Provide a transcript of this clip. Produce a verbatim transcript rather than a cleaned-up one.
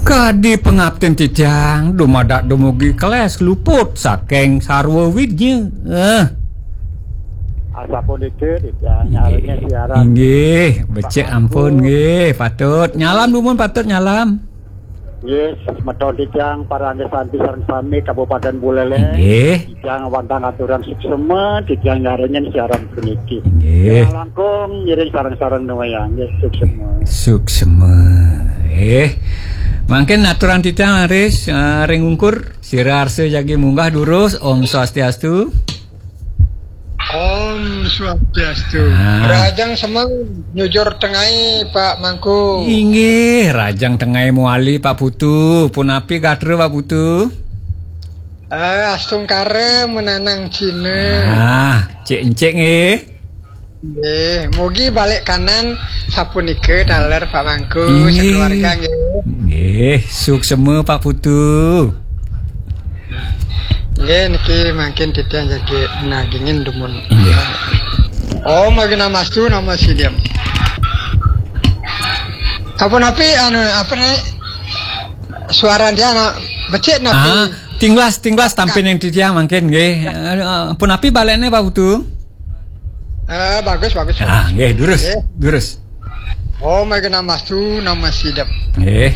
Kadi pangaptin titiang dumadak dumugi kelas luput saking sarwa widnya. Eh. Asapunika titiang nyarengin siaran. Inggih, becik ampun nggih, patut. Nyalam dumun patut nyalam. Nggih, semeton titiang para angga santi sareng sami Kabupaten Buleleng. Inggih. Titiang wantah ngaturang suksema, titiang nyarengin siaran puniki. Nggih. Titiang langkung ngiring sareng-sareng nuwayang, nggih, suksema. Suksema. Eh. Mangkin aturan titiang Aris, eh, ring ungkur, sira arsa jagi munggah durus, Om Swastiastu. Om Swastiastu. Ah. Rahajeng semeng nyujur tengai, Pak Mangku. Inggih, rahajeng tengai mawali, Pak Putu. Punapi gatra, Pak Putu? Eh, astungkara menanang Cina. Ah, cek encik nggih. Nggih, mugi balik kanan sapunika taler Pak Mangku, inggih, sakeluarga nggih. Nggih, suksema Pak Putu. Nggih, niki mangkin titiang jagi nagingin dumun. Nggih. Om Agnamastu Namo Sidham. Apa napi anu apa nih? Suara dia anak becik napi? Ah, tinglas, tinglas tampin yang titiang mangkin nggih. Eh, eh, punapi balene Pak Putu? Eh, bagus, bagus. Ah, nggih, durus. Nggih. Durus. Om Agnamastu Namo Sidham. Nggih.